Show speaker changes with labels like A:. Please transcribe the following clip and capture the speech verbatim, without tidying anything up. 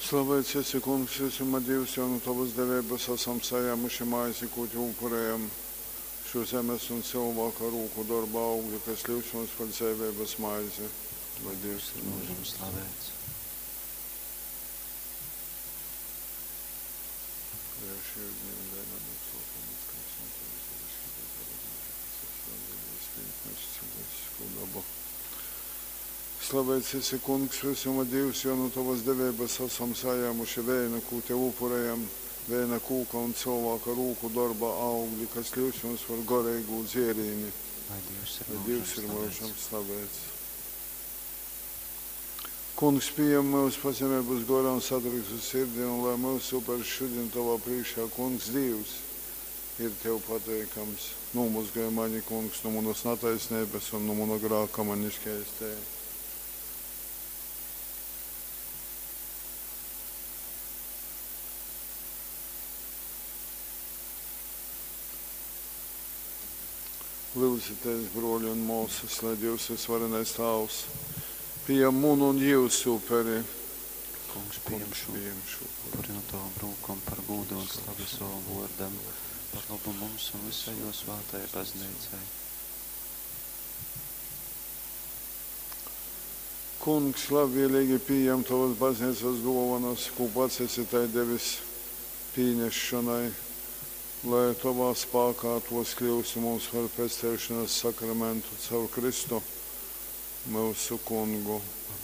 A: Slaveits esi, Kungs, vysuma Dīvs, jo nu tovas deveibas asam sajāmuši maizi, kū tev upurējam, šo zemes un cylvāka rūku dorba augli, kas kļūst mums par dzeiveibas maizi. Lai Dīvs ir
B: Mūžam slavēts.
A: Slaveits esi, Kungs, vysuma Dīvs, jo nu tovas deveibas asam sajāmuši veinu, kū tev upurējam, veina kūka un cylvāka rūku dorba augli, kas kļūst mums par goreigū dzierīni.
B: Lai Dievs ir
A: Lai Dīvs ir
B: mūžam
A: mūžam
B: slavēts.
A: slavēts. Kungs, pieņem mūsu pazemeibas gorā un satriktu sirdi, un lai mūsu upers šodien tavā priekšā, Kungs, Dievs, ir tev pateikams. Nomazgāj mani, Kungs, no manas netaisnības un no mana grāka mani šķēstē. Lūdzieties, broļi un māsas, lai Dievs ir svarenais Tēvs, pieņem munu un jūsu uperi.
B: Kungs, pieņem
A: Kungs,
B: šo
A: pieņem šo upuri.
B: upuri no tavām rūkom par gūdu un slavu savam vārdam, par labu mums un visai jo svētajai baznīcai.
A: Kungs, labvēlīgi pieņem tavas baznīcas dāvanas, ko pats esi tai devis pienešanai, lai tavā spēkā tos kļūst mums par pestīšanas sakramentu caur Kristu, mūsu Kungu.
B: Amen.